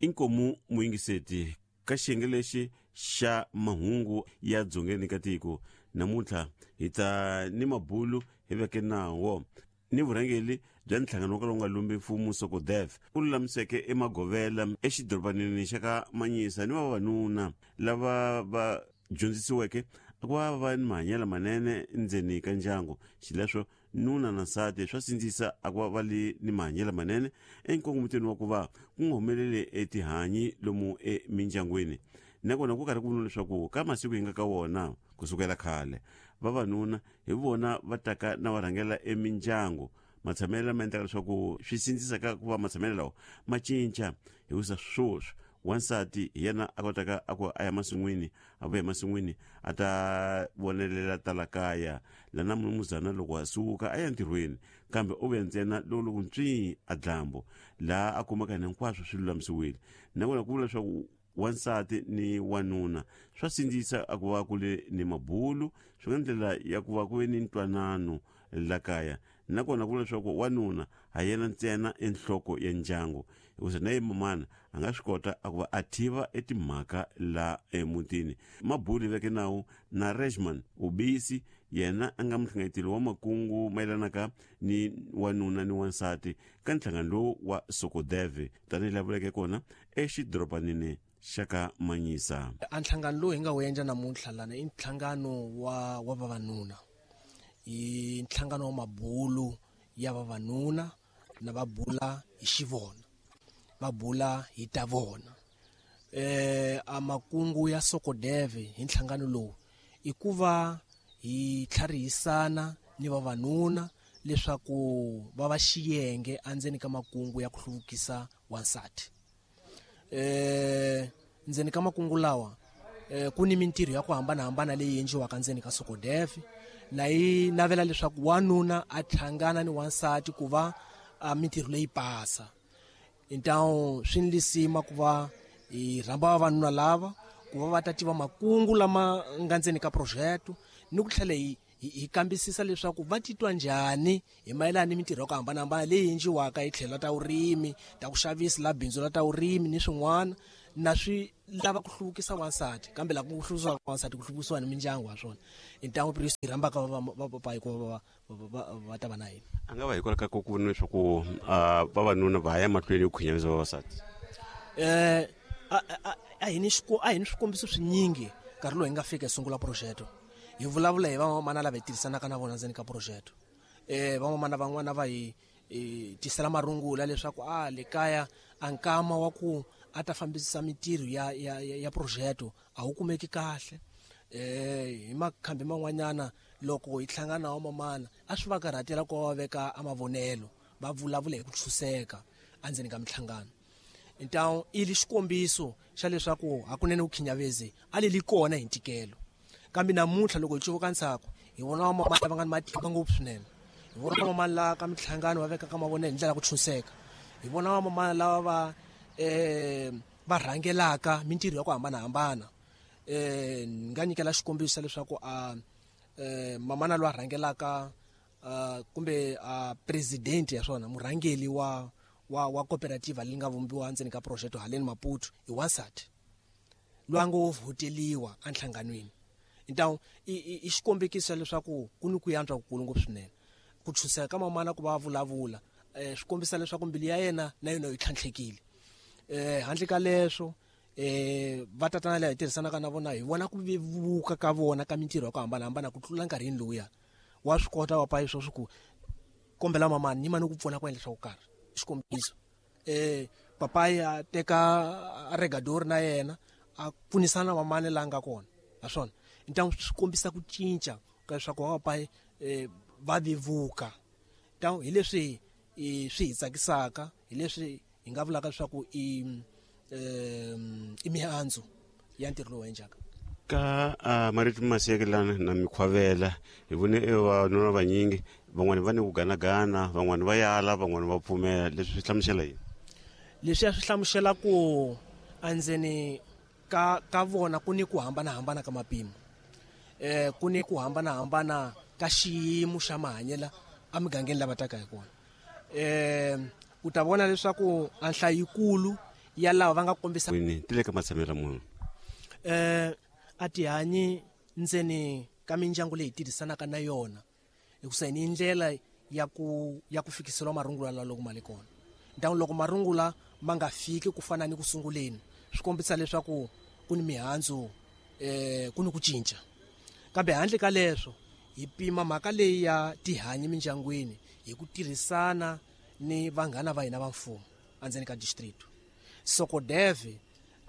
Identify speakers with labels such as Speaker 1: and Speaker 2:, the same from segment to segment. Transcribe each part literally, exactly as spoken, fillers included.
Speaker 1: Inkomu muyingiseti ka xiyenge lexi xa mahungu ya dzongeni ka tiko namuntlha hi ta ni mabulu hi veke nawo ni vurhangeli bya nhlangano wo kala wu nga lumbi mfumo SOCODEV ku lulamiseke emagovela exidorobanini xa ka Manyisa ni vavanuna lava va dyondzisiweke ku va va ni mahanyelo manene ndzeni ka ndyangu. Xileswo nuna na nsati swa sindzisa a ku va va li ni mahanyelo manene enkongometweni wa ku va ku nga humeleli etihanyi lomu emindyangwini. Nakona ku karhi ku vula leswaku ka masiku hi nga ka wona kusukela khale vavanuna hi vona va taka na va rhangela emindyangu. Matshamelo lama endlaka leswaku swi sindzisa ka ku va matshamelo lawa ma cinca hikusa sweswi wansati hi yena a kotaka a ku a ya masin'wini a vuya emasin'wini a ta vonelela tala kaya lana munumuzana loko a suka a ya ntirhweni kambe u vuya ntsena loko loko ntswi a dlambu laha a kumaka hina hinkwaswo swi lulamisiwile. Nakona ku vula leswaku wansati ni wanuna swa sindzisa a ku va ku le ni mabulu swi nga ndlela ya ku va ku ve ni ntwanano la kaya. Nakona ku vula leswaku wanuna ha yena ntsena enhloko ya ndyangu hikusa na ye mamana a nga swi kota a ku va a tiva etimhaka la emutini. Mabulu veke nawu na Rejman Ubisi yena a nga muhlanganeteli wa makungu mayelanaka ni wanuna ni wansati ka nhlangano lowu wa SOCODEV tanihi laha vuleke kona exidorobanini xa ka Manyisa.
Speaker 2: A nhlangano lowu hi nga wu endla namuntlha lana i nhlangano wa wa vavanuna, i nhlangano wa mabulu ya vavanuna na va bula hi xivona, va bula hi ta vona. Eh a makungu ya SOCODEV hi nhlangano lowu i ku va hi tlharihisana ni vavanuna leswaku va va xiyenge endzeni ka makungu ya ku hluvukisa wansati. Eh ndzeni ka makungu lawa eh ku ni mintirho ya ku hambanahambana leyi endliwaka ndzeni ka SOCODEV na yi navela leswaku wanuna a hlangana ni wansati ku va a mintirho leyi pasa. Intawu swi ni lisima ku va hi rhamba vavanuna lava ku va va ta tiva makungu lama nga ndzeni ka project ni ku tlhela hi hi kambisisa leswaku va titwa njhani hi mayelana ni mintirho ya ku hambanahambana leyi endliwaka hi tlhelo ta vurimi, ta ku xavisa la bindzu la ta vurimi ni swin'wana na swi lava ku hluvukisa wansati kambe la ku hluvukisa wansati ku hluvukisiwa ni mindyangu wa swona. Intawu hi rhambaka va papa hikuva va va ta va na hina.
Speaker 1: A nga va hikwalaho ka ku vona leswaku vavanuna va ya mahlweni ku khinyavisa vavasati.
Speaker 2: Eh a a hi ni a hi ni swikombiso swinyingi nkarhi lowu hi nga fika hi sungula project hi vulavula hi vamamana lava hi tirhisanaka na vona ndzeni ka project. Eh vamamana van'wana va hi tisela marungula leswaku a le kaya a nkama wa ku a ta fambisa mintirho ya ya ya project a wu kumeki kahle. Eh hi makhambi man'wanyana loko hi hlangana na vamamana a swi va karhatela ku va veka a mavonelo va vulavula hi ku tshuseka endzeni ka minhlangano. Intawu i li xikombiso xa leswaku hakunene vukhinyavezi a li li kona hi ntikelo. Kambe namuntlha loko hi cuvuka ntsako hi vona vamamana lava nga ni matimba ngopfu swinene, hi vona vamamana lava ka minhlangano va vekaka mavonelo hi ndlela ya ku tshuseka, hi vona vamamana lava va eh va rhangelaka mintirho ya ku hambanahambana. Eh ni nga nyikela xikombiso leswaku a eh mamana loyi a rhangelaka kumbe a president ya swona murhangeli wa wa wa cooperative leyi nga vumbiwa ndzeni ka project haleni Maputo i wansati loyi a ngo vhoteliwa enhlanganweni. Intawu i xikombekiso leswaku ku ni ku yantswa kukulu ngopfu swinene. Ku tshuseka ka mamana ku va vulavula eh swi kombisa leswaku mbilu ya yena na yona yi tlhantlhekile. Eh handle ka leswo eh va tatana lava hi tirhisanaka na vona hi vona ku vevuka ka vona ka mintirho ya ku hambanahambana ku tlula nkarhini lowuya. Wa swi kota wa payi sweswi ku kombela mamani ni mani ku pfuna ku endla swa ku karhi. Xikombiso eh papayi a teka regadori na yena a pfunisana na mamani la nga kona naswona ntangu swi kombisa ku cinca ka leswaku va papayi eh va vevuka. Ntangu hi leswi swi hi tsakisaka hi leswi hi nga vulaka leswaku i i mihandzu ya ntirho lowu endlaka.
Speaker 1: Ka uh, marito masekelana na mikhwavela hi vone vavanuna vanyingi van'wani va ni ku ganagana van'wani va yala van'wani va pfumela. Leswi swi hlamusela yini?
Speaker 2: Leswi ya swi hlamusela ku endzeni ka ka vona ku ni ku hambanahambana ka mapimo, eh ku ni ku hambanahambana ka xiyimo xa mahanyelo emigangeni lava taka hi kona. Eh u ta vona leswaku a nhlayo yikulu ya lava va nga kombisa
Speaker 1: ti le ka matshamelo munhu
Speaker 2: eh a tihanyi ndzeni ka mindyangu leyi tirhisanaka na yona hikusa ni ndlela ya ku ya ku fikisela marungula la loko mali kona ntangu loko marungula ma nga fiki ku fana ni ku sunguleni swi kombisa leswaku ku ni mihandzu eh ku ni ku cinca kambe handle ka leswo hi pima mhaka leyi ya tihanyi mindyangwini hi ku tirhisana ni vanghana va hina va mfumo endzeni ka district Sokodeve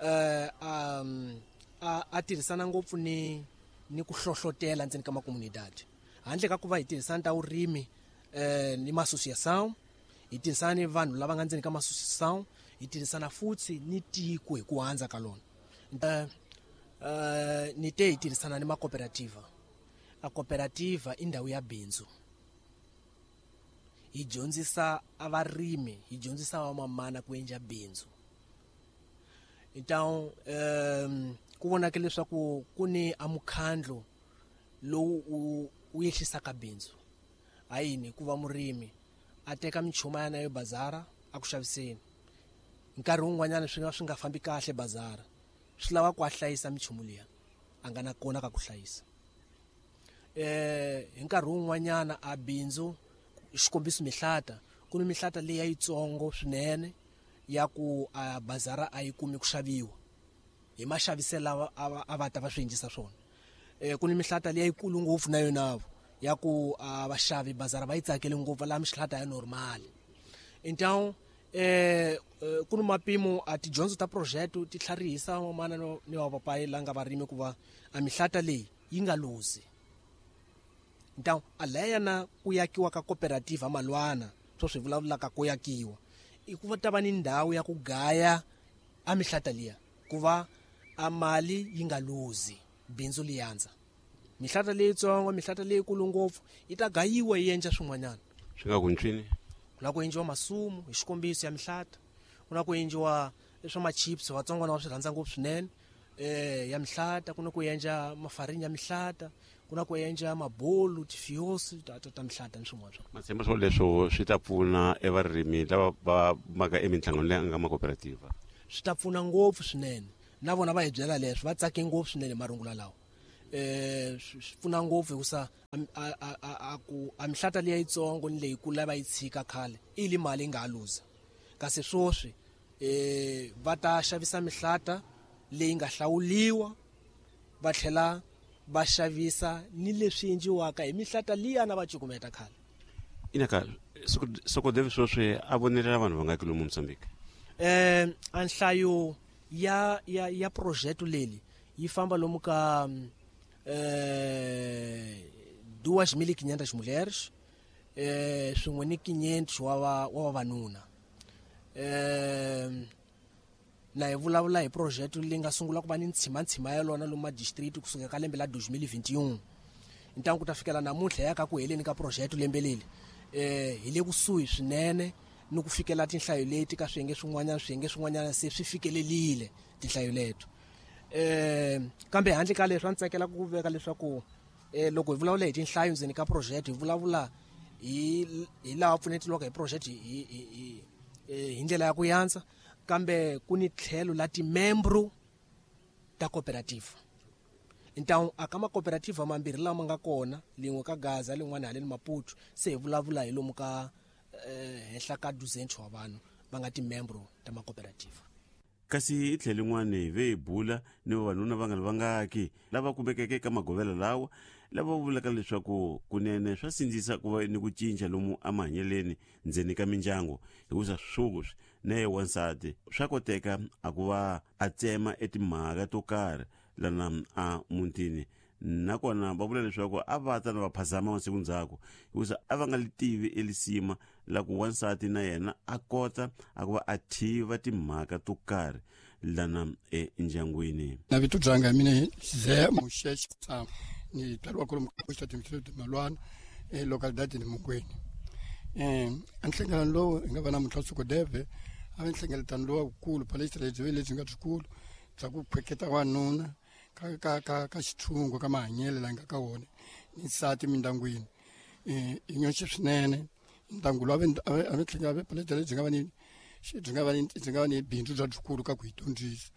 Speaker 2: eh um a, a tirhisana ngopfu ni ni ku hlohlotela ndzeni ka makomunidade handle ka ku va hi tirhisana ta vurimi eh ni ma-association hi tirhisana ni vanhu lava nga ndzeni ka ma-association hi tirhisana futhi ni tiko hi ku handza ka lona eh eh ni te hi tirhisana ni makooperativa a cooperativa i ndhawu ya bindzu hi dyondzisa a varimi hi dyondzisa vamamana ku endla bindzu então um ku vonaka leswaku ku ni a mukhandlo lowu u u yehlisaka bindzu hayini ku va murimi a teka minchuma ya nayo bazara a ku xaviseni nkarhi wun'wanyana swi nga swi nga fambi kahle bazara swi lava ku a hlayisa minchumu liya a nga na kona ka ku hlayisa eh hi nkarhi wun'wanyana a bindzu xikombiso mihlata ku ni mihlata leyi yitsongo swinene ya ku a bazara a yi kumi ku xaviwa hi maxaviselo lava a va ta va swi endlisa swona eh ku ni mihlata leyi yikulu ngopfu na yona ya ku a vaxavi bazara va yi tsakele ngopfu la mihlata ya normal então eh ku ni mapimo a tidyondzo ta project ti tlharihisa vamana ni va papayi la nga varimi ku va a mihlata leyi yi nga luzi então a leya na ku yakiwa ka cooperative malwana swo swi vulavulaka ku yakiwa i ku va ta va ni ndhawu ya ku gaya a mihlata liya ku va a mali yi nga luzi bindzu li yandza mihlata leyitsongo mihlata leyikulu ngopfu yi ta gayiwa yi endla swin'wanyana
Speaker 1: swi nga ku ntswini
Speaker 2: ku na ku endliwa masumu hi xikombiso ya mihlata ku na ku endliwa swa ma-chips vatsongwana va swi rhandza ngopfu swinene eh ya mihlata ku na ku endla mafarini ya mihlata ku na ku endla mabolu tifiosi ta ta, ta mihlata ni swin'wana swa
Speaker 1: matshemba swo leswo swi ta pfuna evarimi lava va maka eminhlangano leyi nga makooperativa
Speaker 2: swi ta pfuna ngopfu swinene na vona va hi byela leswo va tsake ngopfu swinene marungula lawa eh swi pfuna ngopfu hikusa a a a ku a mihlata leyi yitsongo ni leyikulu lava yi tshika khale i li mali yi nga ha luza kasi swoswi eh va ta xavisa mihlata leyi nga hlawuliwa va tlhela va xavisa ni leswi endliwaka hi mihlata liya na va cukumeta khale
Speaker 1: inaka Sokodeve swoswi a vonelela vanhu va nga lomu Mozambique
Speaker 2: eh a nhlayo ya ya ya project leli yi famba lomu ka eh duas mil e quinhentas mulheres eh swin'we ni quinhentos wa wa vavanuna eh na hi vulavula hi project leyi nga sungula ku va ni ntshima-ntshima ya lona lomu ma-district kusuka ka lembe la dois mil e vinte e um ntangu ku ta fikela namuntlha ya ka ku heleni ka project lembe leli eh hi le kusuhi swinene ni ku fikela tinhlayo leti ka swiyenge swin'wanyana swiyenge swin'wanyana se swi fikelelile tinhlayo leto eh kambe handle ka leswi a ndzi tsakela ku veka leswaku eh loko hi vulavula hi tinhlayo ndzeni ka project hi vulavula hi hi laha pfunetiwaka hi project hi hi hi ndlela ya ku yandza kambe ku ni tlhelo la timembro ta cooperative então a ka macooperative mambirhi lama nga kona lin'we ka Gaza lin'wana haleni Maputo se hi vulavula hi lomu ka henhla ka duzentos wa vanhu va nga timembro ta macooperative
Speaker 1: kasi hi tlhelo rin'wana ve hi bula ni vavanuna va nga ri vangaki lava kumekeke eka magovela lawa lava vulaka leswaku kunene swa sindzisa ku va ni ku cinca lomu emahanyeleni ndzeni ka mindyangu hikusa swoswi na ye wansati swa koteka a ku va a tsema etimhaka to karhi lana a mutini nakona va vula leswaku a va ta na va phazama masiku ndzhaku hikusa a va nga li tivi elisima la ku wansati na yena a kota a ku va a tiva timhaka to karhi lana endyangwini
Speaker 3: na vito byanga mina Ze Muxexi ni tswariwa kwalomu ka xitatimende Malwana e localidade ni Mungweni eh a nhlengeletano lowu hi nga va namuntlha Sokodeve a va nhlengeletano lowukulu palestra lebyi lebyi nga byikulu bya ku khweketa wanuna ka ka ka ka xithungo ka mahanyelo la nga ka wona ni nsati mindyangwini eh i nyoxe swinene ndyangu lowu a va tlhela va palestra lebyi nga va ni Byi nga va ni byi nga va ni bindzu bya byikulu ka ku hi dyondzisa.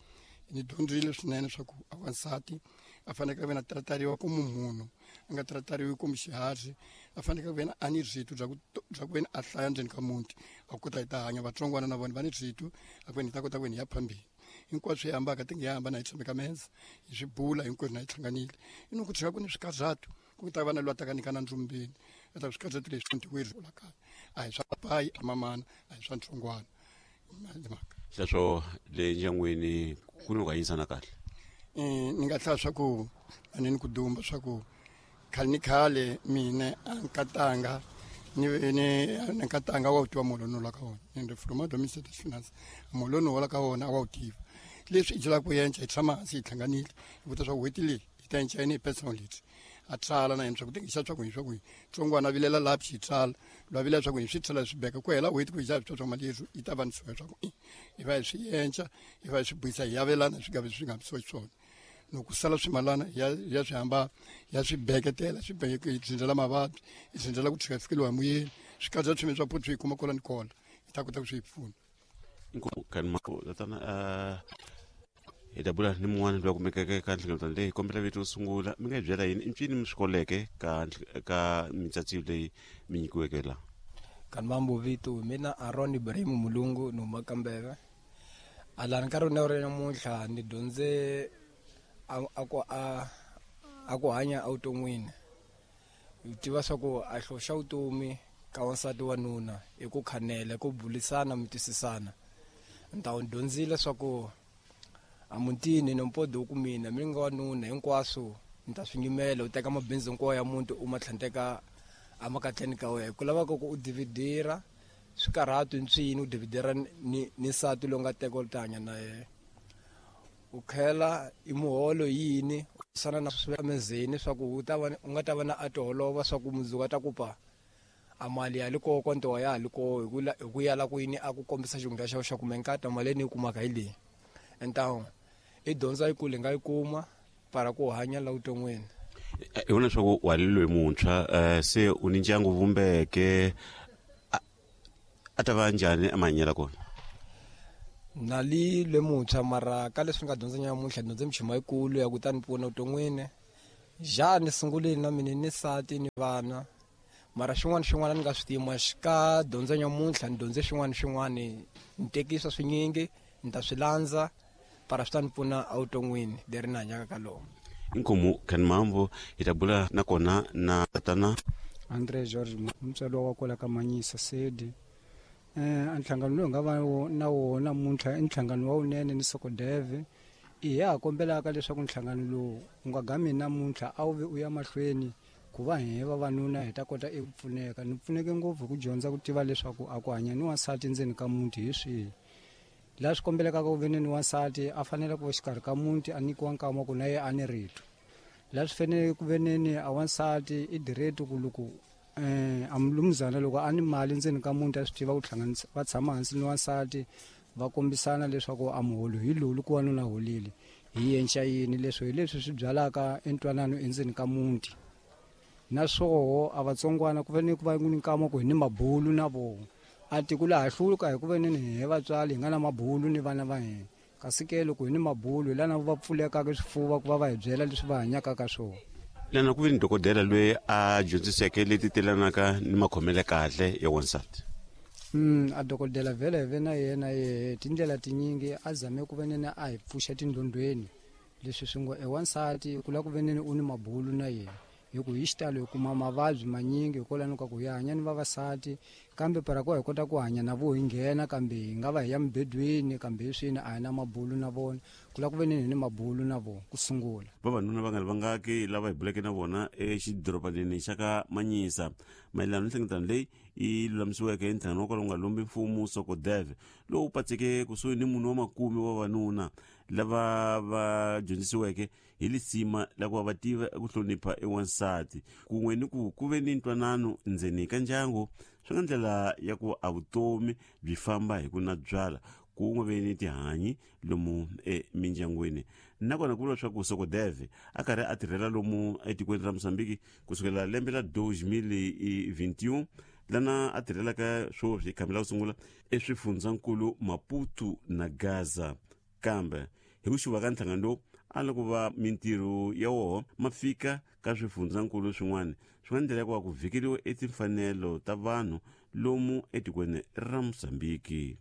Speaker 3: Ni dyondzile swinene swa ku a wansati a fanekele ku ve na tratariwa komu munhu a nga tratariwi komu xiharhi, a fanekele ku ve na a ni rito bya ku bya ku ve ni a hlaya ndzeni ka muti a kota hi ta hanya. Vatsongwana na vona va ni rito a ku ve ni ta kota ku ve ni ya phambili. Hinkwaswo hi hambaka ti nge hambana hi tshame ka meza hi swi bula hinkwerhu na hi hlanganile. I no ku tshika ku ni swikarhato ku ta va na loyi a taka nyika na ndzumbeni a ta swikarhato leswi ntiweri la kaya a hi swa papayi a mamana a hi swa ntsongwana mhaka.
Speaker 1: Sweswo le ndyangwini ku ni ku hanyisana kahle.
Speaker 3: Ni nga hlaya swa ku a ni ni ku dumba swa ku khale ni khale mina a nkatanga ni ni nkatanga wa wu tiva muholo no la ka wona ende from domicile finance muholo no la ka wona a wa wu tiva. Leswi hi byelaka ku yenca hi tshama hansi hi hlanganile hi vutisa swa ku n'hweti leyi hi ta yenca yini hi personal leti a tsala na yena swa ku ti xa swa ku hi swa ku hi tsongwana a vilela laha xi tsala lwa vilela swa ku hi swi tsala swi beka ku hela n'hweti ku hi xa swi swa mali leswi yi ta va ni swa ku hi va hi swi yenca hi va hi swi buyisa hi yavelana swi nga vi swi nga hambisiwa xiswona. Loko sala swimalana ya ya swi hamba ya swi beketela swi beke hi dzindzela mavabyi hi dzindzela ku tshika fikeliwa hi muyeni swi katsa swime swa phuthu hi kuma kola ni kola hi ta kota ku swi pfuna.
Speaker 1: Tatana hi ta bula ni mun'wana loyi a kumekeke ka nhlengeletano leyi kombela vito sungula mi nga hi byela yini i ncini mi swi koleke ka ka mitsatsiyo leyi mi nyikiweke laha.
Speaker 4: Kanmambo vito mina Aaron Ibrahim Mulungu ni huma Kambeve. Alani nkarhi wa ri namuntlha ni dyondze a ku a a ku hanya evuton'wini. Hi tiva swa ku a hloxa vutomi ka wansati wa nuna i ku khanela ku bulisana mi twisisana. Ni ta dyondzile swa ku a mutini ni mpodo ku mina mi nga wanuna hinkwaswo ni ta swi nyimela u teka mabindzu hinkwawo ya muti u ma tlhanteka emakatleni ka wena ku lavaka ku u dividira swikarhato ntswini u dividira ni ni nsati lowu nga teka u ta hanya na yena. U khela i muholo yini u sana na swi emezeni swa ku u ta va u nga ta va na a tiholova swa ku mundzuku a ta ku pa a mali ya le koko ntowa ya ha le koo hi ku hi ku yala ku yini a ku kombisa xihundla xa xa ku menkata mali leyi ni yi kumaka hi leyi. Entawu i dyondza yi kule nga yi kuma para ku hanya la vuton'wini.
Speaker 1: Hi vona leswaku wa loyi muntshwa se u ni ndyangu vumbeke a ta va njhani emahanyelo kona?
Speaker 4: Na li le muntshwa mara ka leswi nga dyondza nyamuntlha dyondze michuma yikulu ya ku ta ni pfuna vuton'wini. Ja ni sungulile na mina ni nsati ni vana mara xin'wana xin'wana ni nga swi tima ka dyondza nyamuntlha ni dyondze xin'wana xin'wana ni tekisa swinyingi ni ta swi landza para swi ta ni pfuna evuton'wini leri ni hanyaka ka lona.
Speaker 1: Inkomu Kanmambo hi ta bula nakona na tatana
Speaker 5: Andre George mutswari wa kwala ka Manyisa Sedi. Eh a nhlangano lowu nga va na wona namuntlha i nhlangano wa wunene ni Sokodeve. I ha kombelaka leswaku nhlangano lowu wu nga gami namuntlha a wu vi u ya mahlweni ku va hi vavanuna hi ta kota eku pfuneka. Ni pfuneke ngopfu hi ku dyondza ku tiva leswaku a ku hanya ni wansati ndzeni ka muti hi swihi. Laha swi kombelekaka ku ve ni wansati a fanele ku va xikarhi ka muti a nyikiwa nkama ku na ye a ni rito. Laha swi fanele ku ve ni a wansati i direct ku loko eh a mulumuzana loko a ni mali ndzeni ka muti a swi tiva ku hlanganisa va tshama hansi ni wansati va kombisana leswaku a muholo hi lowu loko wanuna holile hi yenca yini leswi hi leswi swi byalaka entwanano endzeni ka muti. Naswoho a vatsongwana ku fanele ku va ni nkama ku hi ni mabulu na vona a tiko laha hluka hi ku ve ni hi vatswari hi nga na mabulu ni vana va hina kasi ke loko hi ni mabulu hi lana va pfulekaka swifuva ku va va hi byela leswi va hanyaka ka swona.
Speaker 1: Lana ku ve ni dokodela loyi a dyondziseke leti telanaka ni makhomele kahle ya wansati.
Speaker 5: Mm a dokodela vhele hi ve na yena ye tindlela tinyingi a zame ku ve nene a hi pfuxa tindlondlweni leswi swi ngo e wansati ku lava ku ve nene u ni mabulu na yena hi ku hi xitalo hi kuma mavabyi manyingi hikwalano ka ku hi hanya ni vavasati kambe para ku hi kota ku hanya na vo hi nghena kambe hi nga va hi ya mibedweni kambe hi swini a hi na mabulu na vona ku lava ku ve ni ni mabulu na vona ku sungula.
Speaker 1: Vavanuna va nga ri vangaki lava hi buleke na vona exidorobaneni xa ka Manyisa mayelana ni nhlengeletano leyi yi lulamisiweke hi nhlangano wa kwala wu nga lombi mfumo Sokodeve lowu patseke kusuhi ni munhu wa makume wa vavanuna lava va dyondzisiweke hi lisima la ku va va tiva ku hlonipha ewansati kun'we ni ku ku ve ni ntwanano ndzeni ka ndyangu swi nga ndlela ya ku a vutomi byi famba hi ku na byala kun'we ve ni tihanyi lomu emindyangwini. Nakona ku vula leswaku Sokodeve a karhi a tirhela lomu etikweni ra Mozambique kusukela lembe la deux mille vingt et un Lana a tirhelaka swoswi khambi la ku sungula eswifundzankulu Maputo na Gaza. Kambe hi ku xuva ka nhlangano lowu a loko va mintirho ya woho ma fika ka swifundzankulu swin'wana swi nga ndlela ya ku va ku vhikeriwa etimfanelo ta vanhu lomu etikweni ra Mozambiki.